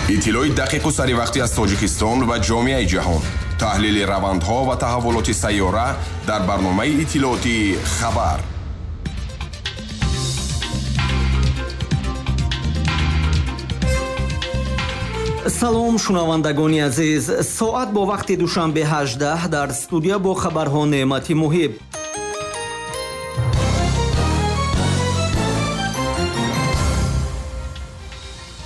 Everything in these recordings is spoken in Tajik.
Иттилои дақиқу саривақтӣ аз Тоҷикистон ва ҷомеаи ҷаҳон, таҳлили равандҳо ва таҳаввулоти сайёра дар барномаи иттилоотии «Хабар». Салом, шунавандагони азиз. Соат бо вақти Душанбе 18, дар студия бо хабарҳо Неъмати Муҳиб.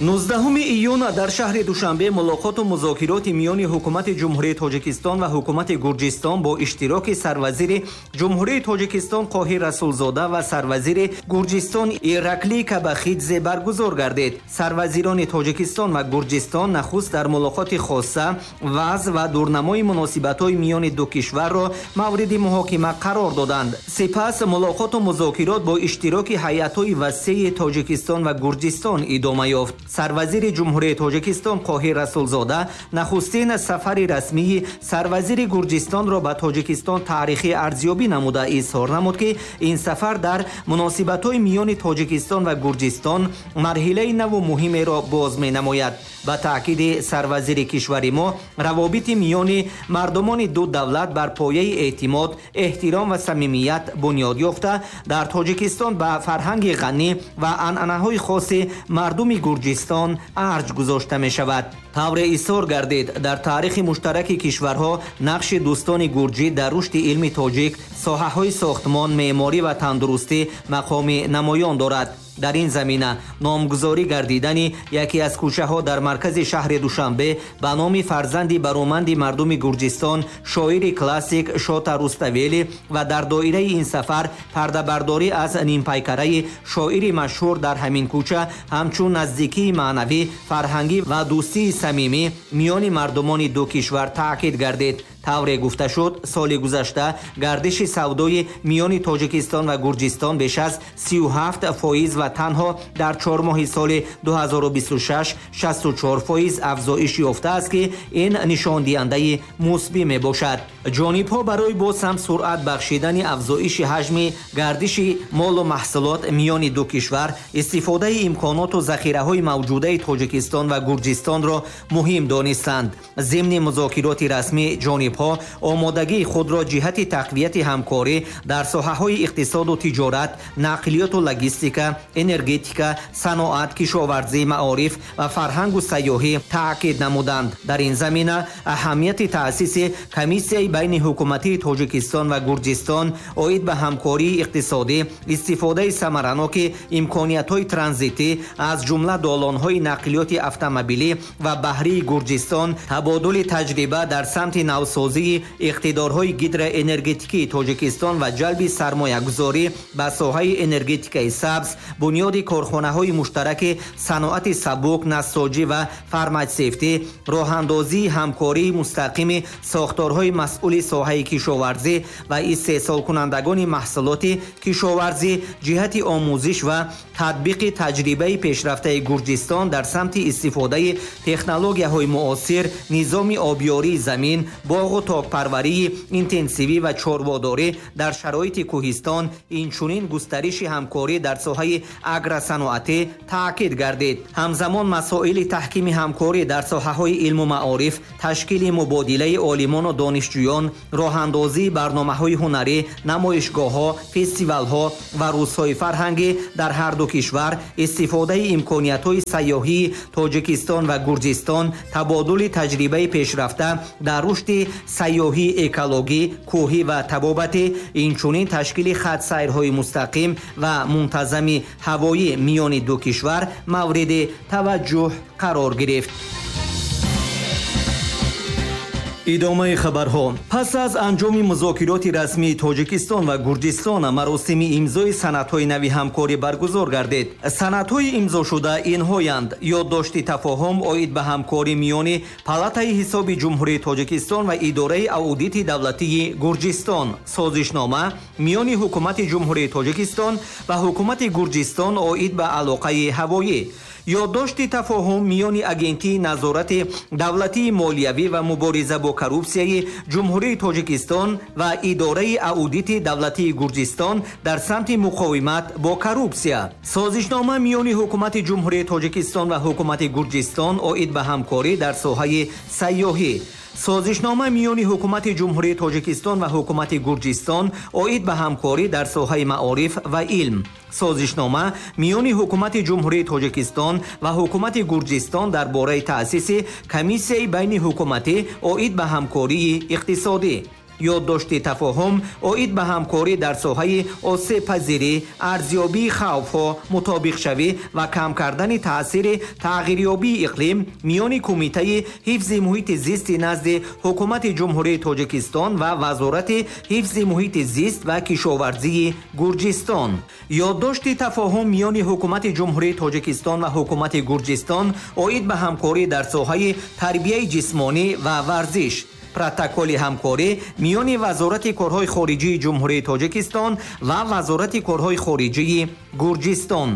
19 июн дар шаҳри Душанбе мулоқоту музокироти миёни ҳукумати Ҷумҳурии Тоҷикистон ва ҳукумати Гурҷистон бо иштироки сарвазири Ҷумҳурии Тоҷикистон Қоҳир Расулзода ва сарвазири Гурҷистон Ираклий Кабахидзе баргузор гардид. Сарвазирони Тоҷикистон ва Гурҷистон нахуст дар мулоқоти хоса вазъ ва дурнамои муносибатҳои миёни ду кишварро мавриди муҳокима қарор доданд. Сипас мулоқоту музокирот бо иштироки ҳайатҳои васеи Тоҷикистон ва Гурҷистон идома ёфт. Сарвазири Ҷумҳурии Тоҷикистон Қоҳир Расулзода нахустин сафари расмии сарвазири Гурҷистонро ба Тоҷикистон таърихӣ арзёбӣ намуда изҳор намуд, ки ин сафар дар муносибатҳои миёни Тоҷикистон ва Гурҷистон марҳилаи наву муҳимеро боз менамояд. Ба таъкиди сарвазири кишвари мо, равобити миёни мардумони ду давлат бар пояи эътимод, эҳтиром ва самимият бунёд ёфта, дар Тоҷикистон ба фарҳанги ғанӣ ва анъанаҳои хоси мардуми Гурҷистон арҷ гузошта мешавад. Тавре изҳор гардид, дар таърихи муштараки кишварҳо нақши дӯстони гурҷӣ дар рушди илми тоҷик, соҳаҳои сохтмон, меъморӣ ва тандурустӣ мақоми намоён дорад. Дар ин замина номгузорӣ гардидани яке аз кӯчаҳо дар маркази шаҳри Душанбе ба номи фарзанди бароманди мардуми Гурҷистон, шоири классик Шота Руставели ва дар доираи ин сафар пардабардорӣ аз нимпайкараи шоири машҳур дар ҳамин кӯча ҳамчун наздикии маънавӣ, фарҳангӣ ва дӯстии самимӣ миёни мардумони ду кишвар таъкид гардид. Тавре гуфта шуд, соли гузашта гардиши савдои миёни Тоҷикистон ва Гурҷистон беш аз 37% ва танҳо дар 4 моҳи соли 2026 64% афзоиш ёфтааст, ки ин нишондиҳандаи мусбӣ мебошад. Ҷонибҳо барои боз ҳам суръат бахшидани афзоиши ҳаҷми гардиши молу маҳсулот миёни ду кишвар истифодаи имконоту захираҳои мавҷудаи Тоҷикистон ва Гурҷистонро муҳим донистанд. Зимни музокироти расмӣ ҷонибҳо омодагии худро ҷиҳати тақвияти ҳамкорӣ дар соҳаҳои иқтисоду тиҷорат, нақлиёту логистика, энергетика, саноат, кишоварзӣ, маориф ва фарҳангу сайёҳӣ таъкид намуданд. Дар ин замина аҳамияти таъсиси комиссияи байни ҳукуматии Тоҷикистон ва Гурҷистон оид ба ҳамкории иқтисодӣ, истифодаи самараноки имкониятҳои транзитӣ, аз ҷумла долонҳои нақлиёти автомобилӣ ва баҳрии Гурҷистон, табодули таҷриба дар самти навсозии иқтидорҳои гидроэнергетикии Тоҷикистон ва ҷалби сармоягузорӣ ба соҳаи энергетикаи сабз, бунёди корхонаҳои муштараки саноати сабук, нассоҷӣ ва фарматсевтӣ, роҳандозии ҳамкории мустақими сохторҳои масъули соҳаи кишоварзӣ ва истеҳсолкунандагони маҳсулоти кишоварзӣ ҷиҳати омӯзиш ва татбиқи таҷрибаи пешрафтаи Гурҷистон дар самти истифодаи технологияҳои муосир, низоми обёрии замин, боғу токпарварии интенсивӣ ва чорводорӣ дар шароити кӯҳистон, инчунин густариши ҳамкорӣ дар соҳаи агросаноатӣ таъкид гардид. Ҳамзамон масоили таҳкими ҳамкорӣ дар соҳаҳои илму маориф, ташкили мубодилаи олимону донишҷӯён, роҳандозии барномаҳои ҳунарӣ, намоишгоҳҳо, фестивалҳо ва рӯзҳои фарҳангӣ дар ҳар ду кишвар, истифодаи имкониятҳои сайёҳии Тоҷикистон ва Гурҷистон, табодули таҷрибаи пешрафта дар рушди сайёҳии экологӣ, кӯҳӣ ва табобатӣ, инчунин ташкили хатсайрҳои мустақим ва мунтазами ҳавоӣ миёни ду кишвар мавриди таваҷҷӯҳ қарор гирифт. Идомаи хабарҳо. Пас аз анҷоми музокироти расмии Тоҷикистон ва Гурҷистон маросими имзои санадҳои нави ҳамкорӣ баргузор гардид. Санадҳои имзошуда инҳоянд: ёддошти тафоҳум оид ба ҳамкорӣ миёни Палатаи ҳисоби Ҷумҳурии Тоҷикистон ва Идораи аудити давлатии Гурҷистон, созишнома миёни Ҳукумати Ҷумҳурии Тоҷикистон ва Ҳукумати Гурҷистон оид ба алоқаи ҳавоӣ. Ёддошти тафоҳум миёни Агентии назорати давлатии молиявӣ ва мубориза бо коррупсияи Ҷумҳурии Тоҷикистон ва Идораи аудити давлатии Гурҷистон дар самти муқовимат бо коррупсия. Созишнома миёни Ҳукумати Ҷумҳурии Тоҷикистон ва Ҳукумати Гурҷистон оид ба ҳамкорӣ дар соҳаи сайёҳӣ. Созишнома миёни Ҳукумати Ҷумҳурии Тоҷикистон ва Ҳукумати Гурҷистон оид ба ҳамкорӣ дар соҳаи маориф ва илм. Созишнома миёни Ҳукумати Ҷумҳурии Тоҷикистон ва Ҳукумати Гурҷистон дар бораи таъсиси Комиссияи байниҳукуматӣ оид ба ҳамкории иқтисодӣ. Ёддошти тафоҳум оид ба ҳамкорӣ дар соҳаи осебпазирӣ, арзёбии хавфҳо, мутобиқшавӣ ва кам кардани таъсири тағйирёбии иқлим миёни Кумитаи ҳифзи муҳити зисти назди Ҳукумати Ҷумҳурии Тоҷикистон ва Вазорати ҳифзи муҳити зист ва кишоварзии Гурҷистон. Ёддошти тафоҳум миёни Ҳукумати Ҷумҳурии Тоҷикистон ва Ҳукумати Гурҷистон оид ба ҳамкорӣ дар соҳаи тарбияи ҷисмонӣ ва варзиш. Протоколи ҳамкорӣ миёни Вазорати корҳои хориҷии Ҷумҳурии Тоҷикистон ва Вазорати корҳои хориҷии Гурҷистон.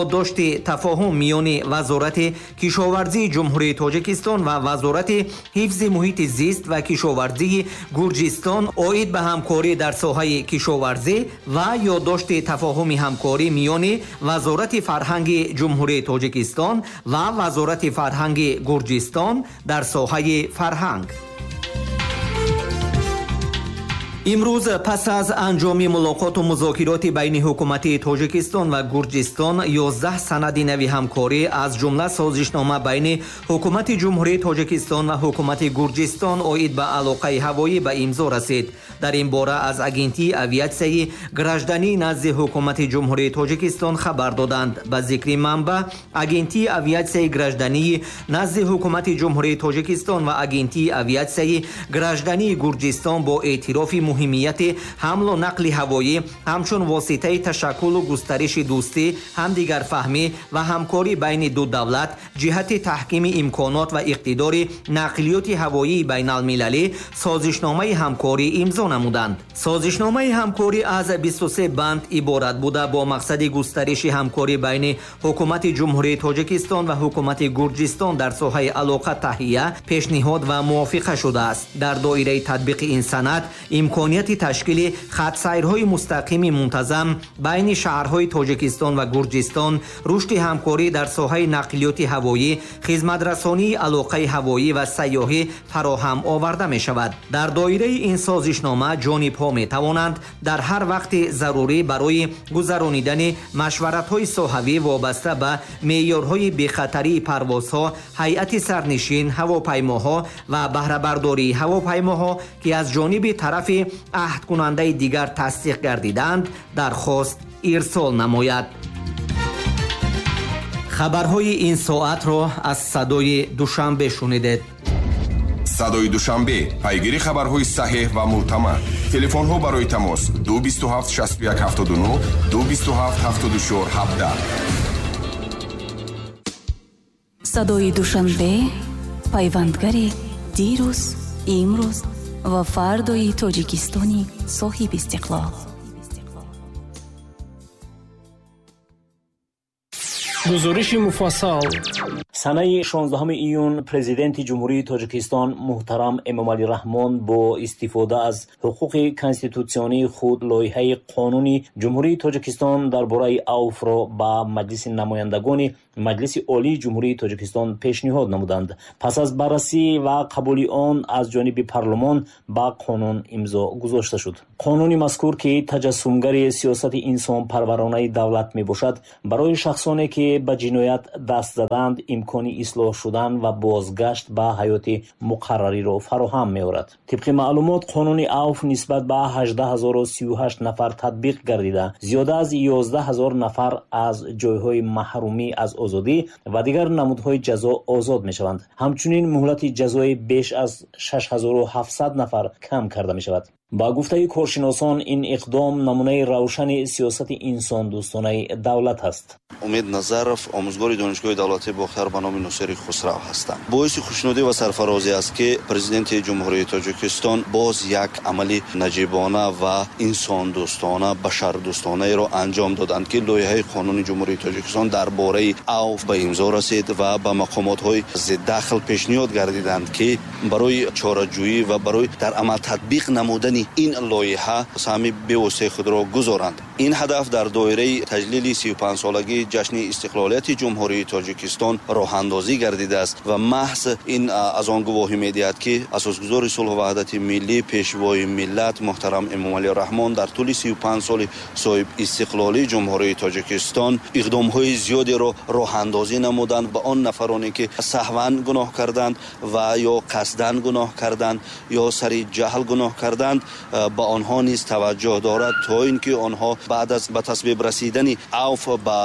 Ёддошти тафоҳум миёни Вазорати кишоварзии Ҷумҳурии Тоҷикистон ва Вазорати ҳифзи муҳити зист ва кишоварзии Гурҷистон оид ба ҳамкорӣ дар соҳаи кишоварзӣ ва ёддошти тафоҳуми ҳамкорӣ миёни Вазорати фарҳанги Ҷумҳурии Тоҷикистон ва Вазорати фарҳанги Гурҷистон дар соҳаи фарҳанг. Имрӯз пас аз анҷоми мулоқоту музокироти байни ҳукуматии Тоҷикистон ва Гурҷистон 11 санади нави ҳамкорӣ, аз ҷумла созишнома байни Ҳукумати Ҷумҳурии Тоҷикистон ва Ҳукумати Гурҷистон оид ба алоқаи ҳавоӣ ба имзо расид. Дар ин бора аз Агентии авиатсияи граждании назди Ҳукумати Ҷумҳурии Тоҷикистон хабар доданд. Ба зикри манбаъ, Агентии авиатсияи граждании назди Ҳукумати Ҷумҳурии Тоҷикистон ва Агентии авиатсияи граждании Гурҷистон бо эътирофи муҳимияти ҳамлу нақли ҳавоӣ ҳамчун воситаи ташаккулу густариши дӯстӣ, ҳамдигарфаҳмӣ ва ҳамкорӣ байни ду давлат ҷиҳати таҳкими имконот ва иқтидори нақлиёти ҳавоии байналмилалӣ созишномаи ҳамкорӣ имзо намуданд. Созишномаи ҳамкорӣ аз 23 банд иборат буда, бо мақсади густариши ҳамкорӣ байни Ҳукумати Ҷумҳурии Тоҷикистон ва Ҳукумати Гурҷистон дар соҳаи алоқа таҳия, пешниҳод ва мувофиқа шудааст. Дар доираи татбиқи ин санад имконияти ташкили хатсайрҳои мустақими мунтазам байни шаҳрҳои Тоҷикистон ва Гурҷистон, рушди ҳамкорӣ дар соҳаи нақлиёти ҳавоӣ, хизматрасонии алоқаи ҳавоӣ ва сайёҳӣ фароҳам оварда мешавад. Дар доираи ин созишнома ҷонибҳо метавонанд дар ҳар вақти зарурӣ барои гузаронидани машваратҳои соҳавӣ вобаста ба меъёрҳои бехатарии парвозҳо, ҳайати сарнишин, ҳавопаймоҳо ва баҳрабардории ҳавопаймоҳо, ки аз ҷониби тарафи аҳдкунандаи дигар тасдиқ гардидаанд, дархост ирсол намояд. Хабарҳои ин соатро аз Садои Душанбе шунидед. Садои Душанбе, пайгири хабарҳои саҳеҳ ва мӯътамад. Телефонҳо барои тамос 227 61 79, 227 74 17. Садои Душанбе, пайвандгари дирӯз, имрӯз ва фардои Тоҷикистони соҳиби истиқлол. Гузориши муфассал. Санаи 16 июн Президенти Ҷумҳурии Тоҷикистон муҳтарам Эмомалӣ Раҳмон бо истифода аз ҳуқуқи конститутсионии худ лоиҳаи қонуни Ҷумҳурии Тоҷикистон дар бораи авфро ба Маҷлиси намояндагони Маҷлиси Олии Ҷумҳурии Тоҷикистон пешниҳод намуданд. Пас аз баррасӣ ва қабули он аз ҷониби парлумон ба қонун имзо гузошта шуд. Қонуни мазкур, ки таҷассумгари сиёсати инсонпарваронаи давлат мебошад, барои шахсоне ки ба ҷиноят даст задаанд имкони ислоҳ шудан ва бозгашт ба ҳаёти муқаррариро фароҳам меорад. Тибқи маълумот, қонуни авф нисбат ба 18038 нафар татбиқ гардида, зиёда аз 11000 нафар аз ҷойҳои маҳрумӣ аз озодӣ ва дигар намудҳои ҷазо озод мешаванд. Ҳамчунин муҳлати ҷазои беш аз 6700 нафар кам карда мешавад. Ба гуфтаи коршиносон, ин иқдом намунаи равшани сиёсати инсондӯстонаи давлат аст. Умед Назаров, омӯзгори Донишгоҳи давлатии Бохтар ба номи Носири Хусрав ҳастам. Боиси хушнудӣ ва сарфарозӣ аст, ки Президенти Ҷумҳурии Тоҷикистон боз як амали наҷибона ва инсондӯстона, башардӯстонаеро анҷом доданд, ки лоиҳаи қонуни Ҷумҳурии Тоҷикистон дар бораи авф ба имзо расид ва ба мақомотҳои зиддахл пешниҳод гардиданд, ки барои чораҷӯӣ ва барои дар амал татбиқ намудани ин лоиҳа саҳми бевоситаи худро гузоранд. Ин ҳадаф дар доираи таҷлили 35-солагии ҷашни истиқлолияти Ҷумҳурии Тоҷикистон роҳандозӣ гардидааст ва маҳз ин аз он гувоҳӣ медиҳад, ки асосгузори сулҳу ваҳдати миллӣ, пешвои миллат муҳтарам Эмомалӣ Раҳмон дар тӯли 35 соли соҳиб истиқлолии Ҷумҳурии Тоҷикистон иқдомҳои зиёдеро роҳандозӣ намуданд ба он нафароне, ки саҳван гуноҳ карданд ва ё қасдан гуноҳ карданд ё сари ҷаҳл гуноҳ карданд, ба онҳо низ таваҷҷӯҳ дорад, то ин ки онҳо баъд аз ба тасвиб расидани авф ба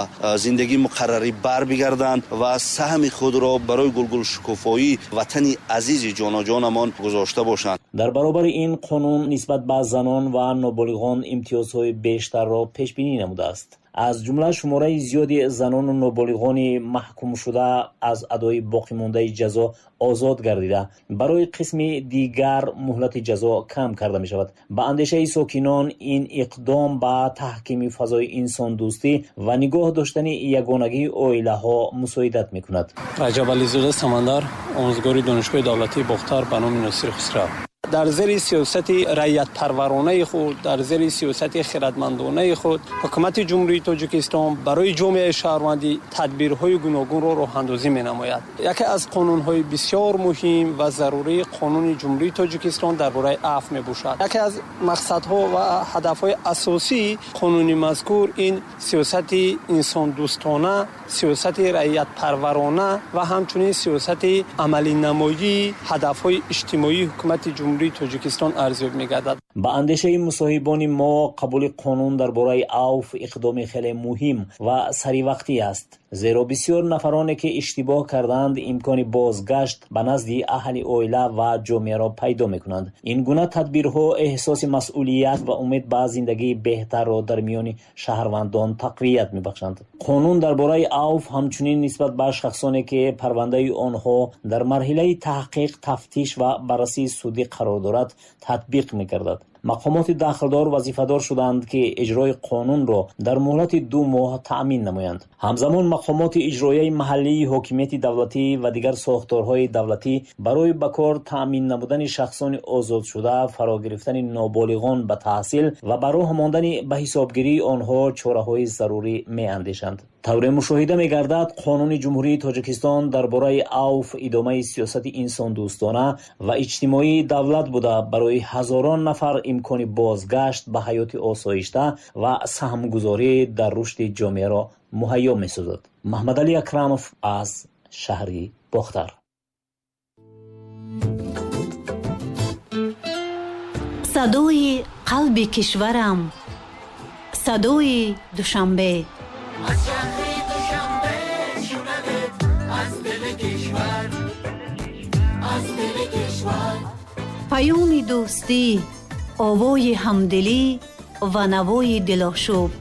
зиндагии муқаррарӣ барбигарданд ва саҳми худро барои гулгулшукуфоии ватани азизи ҷоноҷонамон гузошта бошанд. Дар баробари ин қонун нисбат ба занон ва ноболиғон имтиёзҳои бештарро пешбинӣ намудааст. Аз ҷумла шумораи зиёди занону ноболиғони маҳкумшуда аз адои боқимондаи ҷазо озод гардида, барои қисми дигар муҳлати ҷазо кам карда мешавад. Ба андешаи сокинон, ин иқдом ба таҳкими фазои инсондӯстӣ ва нигоҳ доштани ягонагии оилаҳо мусоидат мекунад. Раҷабализода Самандар, омӯзгори Донишгоҳи давлатии Бохтар ба номи Носири Хусрав. Дар зери сиёсати раиятпарваронаи худ, дар зери сиёсати хирадмандонаи худ, ҳукумати Ҷумҳурии Тоҷикистон барои ҷомеаи шаҳрвандӣ тадбирҳои гуногунро роҳандозӣ менамояд. Яке аз қонунҳои бисёр муҳим ва зарурӣ қонуни Ҷумҳурии Тоҷикистон дар бораи афв мебошад. Яке аз мақсадҳо ва ҳадафҳои асосии қонуни мазкур ин сиёсати инсондӯстона, сиёсати раиятпарварона ва ҳамчунин сиёсати амалинамоии ҳадафҳои иҷтимоии ҳукумати Ҷумҳурии Тоҷикистон арзёб мегардад. Ба андешаи мусоҳибони мо, қабули қонун дар бораи авф иқдоми хеле муҳим ва саривақтӣ аст, зеро бисёр нафароне, ки иштибоҳ карданд, имкони бозгашт ба назди аҳли оила ва ҷомеаро пайдо мекунанд. Ин гуна тадбирҳо эҳсоси масъулият ва умед ба зиндагии беҳтарро дар миёни шаҳрвандон тақвият мебахшанд. Қонун дар бораи авф ҳамчунин нисбат ба шахсоне, ки парвандаи онҳо дар марҳилаи таҳқиқ, тафтиш ва баррасии судӣ қарор дорад, татбиқ мегардад. Мақомоти дахлдор вазифадор шуданд, ки иҷрои қонунро дар муҳлати 2 моҳ таъмин намоянд. Ҳамзамон мақомоти иҷроияи маҳаллии ҳокимияти давлатӣ ва дигар сохторҳои давлатӣ барои ба кор таъмин намудани шахсони озодшуда, фаро гирифтани ноболиғон ба таҳсил ва ба роҳ мондани ба ҳисобгирии онҳо чораҳои зарурӣ меандешанд. Тавре мушоҳида мегардад, қонуни Ҷумҳурии Тоҷикистон дар бораи авф идомаи сиёсати инсондӯстона ва иҷтимоии давлат буда, барои ҳазорон нафар имкони бозгашт ба ҳаёти осоишта ва саҳмгузорӣ дар рушди ҷомеаро муҳайё месозад. Маҳмадалӣ Акрамов аз шаҳри Бохтар. Садои қалби кишварам, садои Душанбе. Аз шаҳри Душанбе шунавед, аз дили кишвар, аз дили кишвар. Паёми дӯстӣ, овои ҳамдилӣ ва навои дилошӯб.